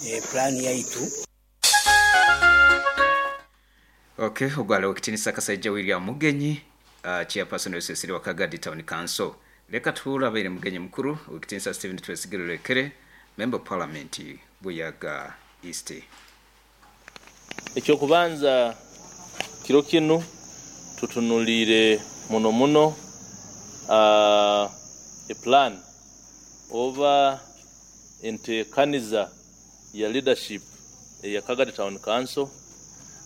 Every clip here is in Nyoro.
Pulaani yaitu. Ok, ogwo ali Owekitinisa Kasaija William Mugenyi, Chairperson w'esesere wa Kagadi Town Council. Leka tuhuure abaire mugenyi mukuru, Owekitinisa Stephen Twesigye Rurekere, Member of Parliament Buyaga East. Eky'okubanza kiro kinu tutunuliire muno muno e plan oba entekaniza ya leadership eya Kagadi Town Council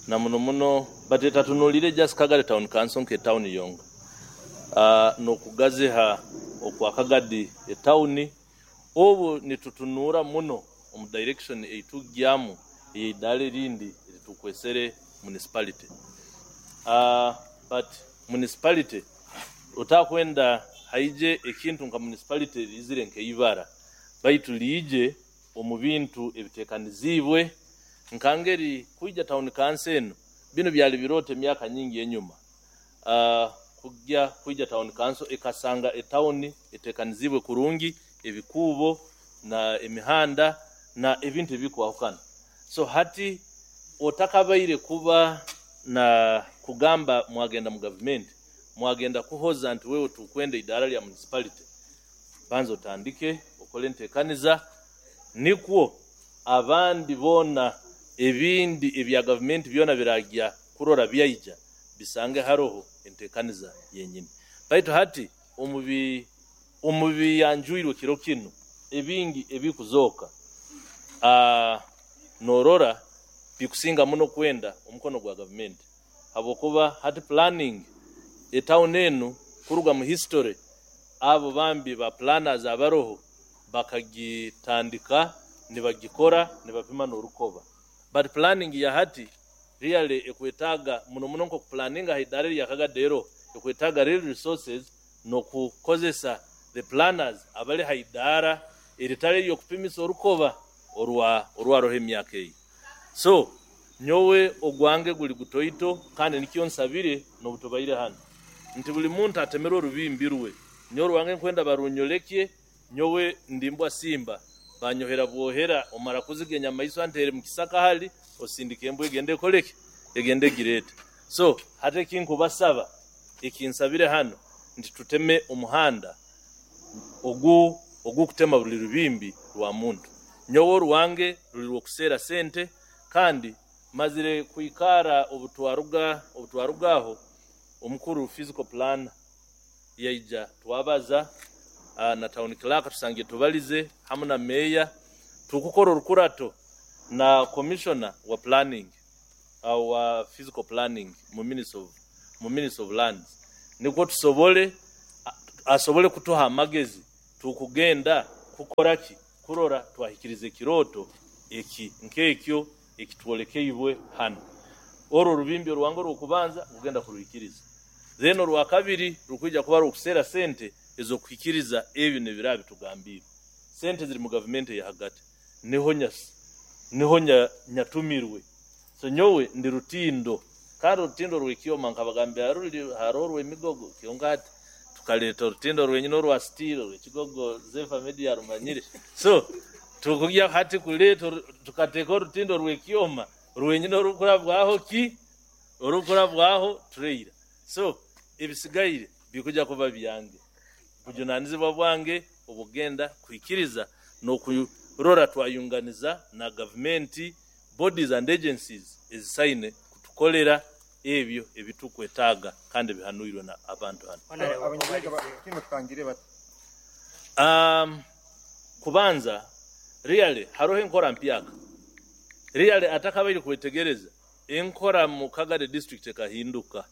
na muno muno but etatunuliire just Kagadi Town Council nke town yonka n'okugaziha okwa Kagadi etawuni obu nitutunuura muno omu direction ei tugyamu ey'eidaara erindi eri tukwesere municipality. But municipality otakwenda haije ekintu nka municipality riizire nk'eibara baitu liije omu bintu ebiteekaniziibwe nka ngeri kwija town council eno binu byali birooto emyaka nyingi enyuma kugya kwija town council ekasanga etawuni eteekaniziibwe kurungi ebikuubo na emihanda na ebintu ebikwahukana. So hati otakabaire kuba na kugamba mwagenda mu gavumenti mwagenda kuhoza nti wewe tukwenda eidaara lya municipality, banza otandike okole enteekaniza nikwo abandi boona ebindi ebya gavumenti byona biragya kurora byaija bisange haroho enteekaniza yenyini. Baitu hati omu biyanjwirwe kiro kinu ebingi ebikuzooka norora bikusinga muno kwenda omukono gwa gavumenti habwokuba hati planning etawuni enu kuruga mu history abo bambi ba planners abaroho bakagitandika nibagikora nibapima n'orukoba but planning ya hati really ekwetaaga muno muno nk'okupulaninga ha idaara erya Kagadi eroho ekwetaaga real resources n'okukozesa the planners abali ha idaara eritali ery'okupimisa orukoba orwa orwaroho emyaka eyo. So nyowe ogwange guli gutoito kandi nikyo nsabire n'obutubaire hanu nti buli muntu atemerwe orubimbi rwe. Nyowe orwange nkwenda barunyolekye, nyowe ndi mbwa simba banyohera bwohera omara kuziga enyamaiswa ntere mu kisaka hali osindika embwa egende ekoleki egende egireete. So hati ekinkubasaba ekinsabire hanu nti tuteme omuhanda ogu ogukutema buli rubimbi rwa muntu. Nyowe orwange ruli rw'okuseera sente kandi mazire kwikara obutwaruga obutwaruga aho omukuru physical plan yaija twabaza na town clerk tusangire tubalize hamu na meeya tukukora orukurato na commissioner wa planning wa physical planning mu Ministry of Lands nikwo tusobole asobole kutuha amagezi tukugenda kukora ki kurora twahikiriza ekirooto eki nk'ekyo ekitwolekeibwe hanu. Orwo orubimbi orwange orw'okubanza kugenda kuruhikiriza. Then orwakabiri rukwija kuba rw'okuseera sente ez'okuhikiriza ebyo n'ebiraba bitugambiirwe. Sente ziri mu gavumenti eya hagati. Niho niho nyatumirwe. So nyowe ndi rutindo kandi orutindo rw'ekyoma nkabagambira ruri haroho orw'emigogo kyonka hati tukaleeta orutindo rwenyini orwa steel orw'ekigogo Zefa Media arumanyire. So tukugya hati kuleeta tukateeka orutindo rw'ekyoma rwenyini orukurabwaho ki? Orukurabwaho trailer. So ebisigaire bikuja kuba byange. Bujunanizibwa bwange obugenda kuhikiriza n'okurora twayunganiza na gavumenti bodies and agencies ezisaine kutukolera ebyo ebitukwetaaga kandi bihanuirwe na abantu hanu. Kubanza really haroho enkora mpyaka. Really atakabaire kwetegereza enkora mu Kagadi district ekahinduka.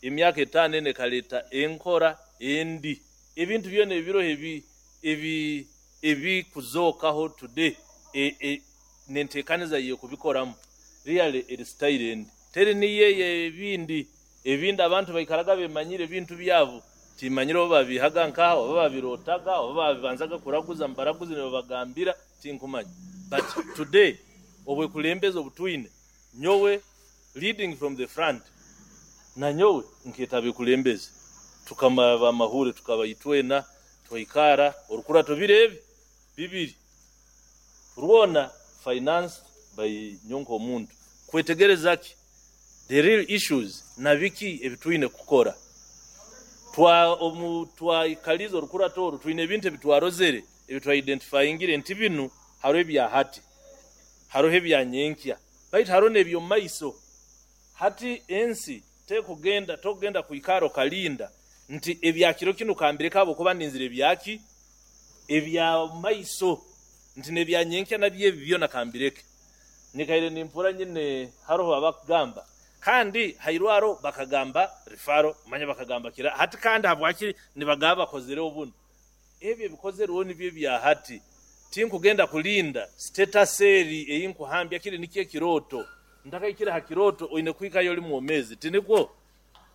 Emyaka etaano ena ekaleeta enkora endi. Ebintu byona ebiroho ebi ebi ebikuzookaho today n'enteekaniza y'okubikoramu really eri style endi. Teri niyo ey'ebindi. Ebindi abantu baikaraga bemanyire ebintu byabo. Timanyire oba babihaga nkaha oba babirootaga oba babibanzaga kuraguza mubaraguzi nibabagambira tinkumanya. But today obwekulembeze obutwine nyowe leading from the front na nyowe nkeeta abekulembeze tukamara amahure tukaba itwena twaikara orukurato biro ebi bibiri rwona Financed by nyonka omuntu kwetegereza ki the real issues na biki ebitwine kukora. Twa omu twaikaliza orukurato oru, twine ebintu ebitwarozere, ebitwaidentifyingire nti binu hariho ebya hati, hariho ebya nyenkya, baitu hariho n'eby'omu maiso. Hati ensi tekugenda, tokugenda kwikara okalinda nti ebya kiro kinu kambireka habwokuba ninzire ebyaki ebya maiso, nti n'ebya nyenkya nabyo ebi byona kambireke. Nyikaire nimpura nyine haroho abakugamba, kandi hairwaro bakagamba referral, manya bakagamba kira hati, kandi habwaki nibagamba bakozereho bunu? Ebyo ebikozerweho nibyo ebya hati. Tinkugenda kulinda status eri eyinkuhambya, kiri nikyo ekirooto. Ntakaikire ha kirooto oine kuhikayo oli mwomezi, tinikwo?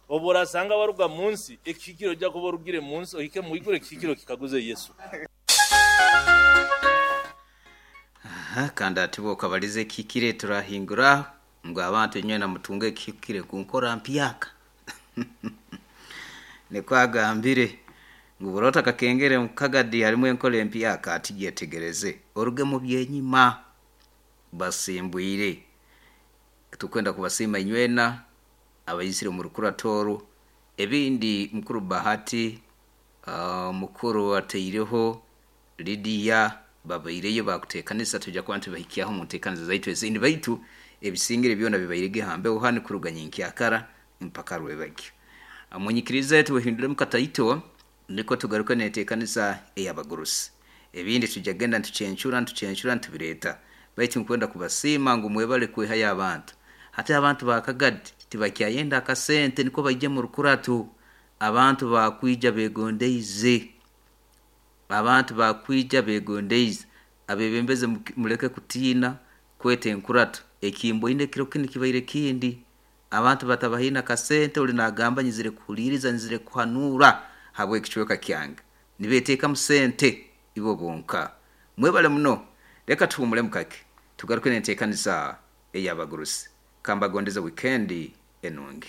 Obu orasanga waruga mu nsi, ekihikire ojja kuba orugire mu nsi ohike mwiguru, ekihikire okikaguze Yesu. Aha, kandi ati bokabaliza ekihikire turahingura ngu abantu inywena mutunge ekihikire kunkora mpyaka. Nikwo agambire ngu burota kakengere mukagadi harimu enkora empyaka, ati gyetegereze oruge mu byenyima basimbwire. Tukwenda kubasiima inywena abaizire omu rukurato oru. Ebindi mukuru Bahati, mukuru ataireho Lidiya, babaireyo bakuteekanisa, tujja kuba ntibahikyaho mu nteekaniza zaitu ezindi, baitu ebisingire byona bibairege hambeho hanu kuruga nyenkyakara mpaka rwebagyo. Munyikirize tuwehinduremu kataito, niko tugaruke n'enteekaniza ey'abagurusi. Ebindi tujja kugenda nitucencura nitucencura nitubireeta, baitu nkwenda kubasiima ngu mwebale kwehayo abantu. Hati abantu ba Kagadi tibakyayenda akasente niko baije mu rukurato. Abantu bakwija begondeize, abantu bakwija begondeize. Abebembezi muleke kutiina kweta enkurato, ekimboine ekiro kinu kibaire kindi. Abantu batabahaine akasente, oli nagamba nyizire kuhuliiriza, nyizire kuhanuura habw'ekicweka kyange, nibeteekamu sente ibo bonka. Mwebale muno, leka tuhumulemu kake tugaruke n'enteekaniza ey'abagurusi. Kambagondeze wikendi enungi.